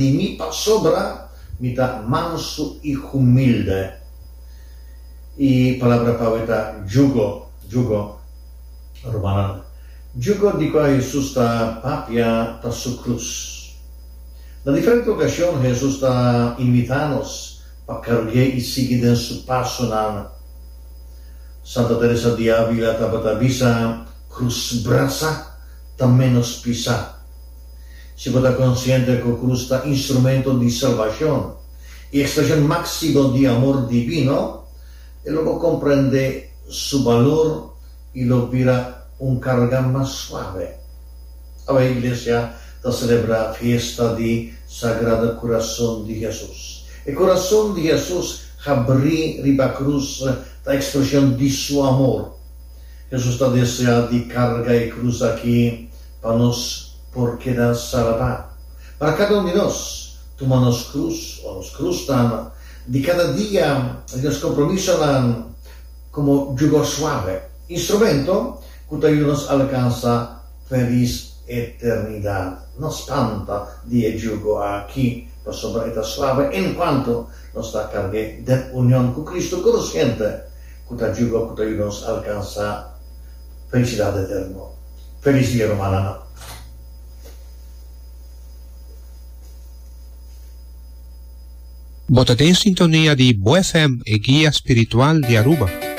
Di mi pasobra mi ta mansu i humilde. E palabra pa awe ta jugo, jugo. Rumannan, jugo di kua Hesus ta papia ta su krus. Na diferente okashon Hesus ta invitá nos pa karg'é i sigui den su pasonan. Santa Teresa di Avila tabata bisa, Krus brasa ta ménos pisá. Si bo ta konsiente ku krus ta instrumento di salbashon i ekspreshon máksimo di amor divino, e lo bo komprendé su balor i lo bira un karga mas suave. Awe Iglesia ta selebrá fiesta di Sagrado Kurason di Hesus. E kurason di Hesus habrí riba krus ta ekspreshon di su amor. Hesus ta deseá di karga e krus aki pa nos por keda salbá. Para kada un di nos tuma nos krus o nos krusnan di kada dia di nos kompromisonan komo yugo suave, instrumento ku ta yuda nos alkansa felis eternidat. No spanta di e yugo aki, pasobra e ta suave enkuanto nos ta karg'é den union ku Kristu konsiente ku ta yugo ku ta yuda nos alkansa felisidat eterno. Felis dia rumannan. Bo ta den sintonia di Bo FM, e guia spiritual di Aruba.